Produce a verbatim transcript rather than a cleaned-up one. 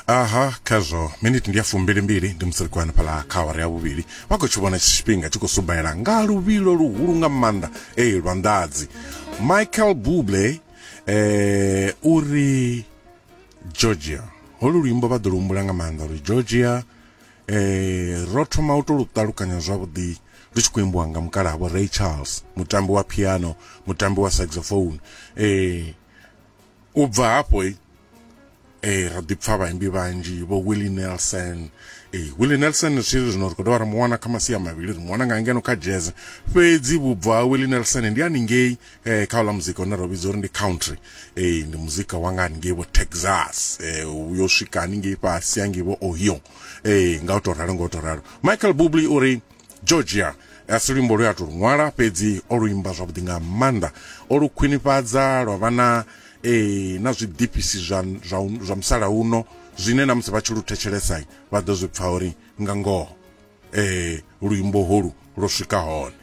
Aha, khazwo miniti ndi ya fumbilimbili ndi musi ri khou hanefhaḽa kha awara ya vhuvhili. Vha khou tshi vhona tshifhinga tshi khou subaela nga luvhilo luhulu nga maanḓa, ee, lwa nḓadzi. Michael Bublé eh uri Georgia, holu luimbo vha ḓo lu humbula nga maanḓa uri Georgia eh ro thoma u to lu ṱalukanya zwavhuḓi lu tshi khou imbiwa nga mukalaha Vho Ray Charles, mutambi wa piano, mutambi wa saxophone. eh u bva hafho eh ra ḓi pfa vhaimbi vhanzhi, vho Willie Nelson. eh Willie Nelson zwi zwino ri khou dovha ra mu wana kha masia mavhili, ri mu wana nga ngeno kha jazz, fhedzi vhubvo ha Willie Nelson ndi haningei eh kha uḽa muzika une ra vhidza uri ndi country. eh ndi muzika wa nga haningei vho Texas, eh yo swika haningei fhasi hangei vho Ohio. eh nga u to ralo, nga u to ralo Michael Bublé uri Georgia a si luimbo lwe a to lu ṅwala, fhedzi o lu imba zwavhuḓi nga maanḓa, o lu khwinifhadza lwa vha na eh na zwiḓifhisi zwa zwa zwa musalauno, zwine na musi vha tshi lu thetshelesa vha ḓo zwi pfa uri nga ngoho eh luimbo holu lwo swika hone.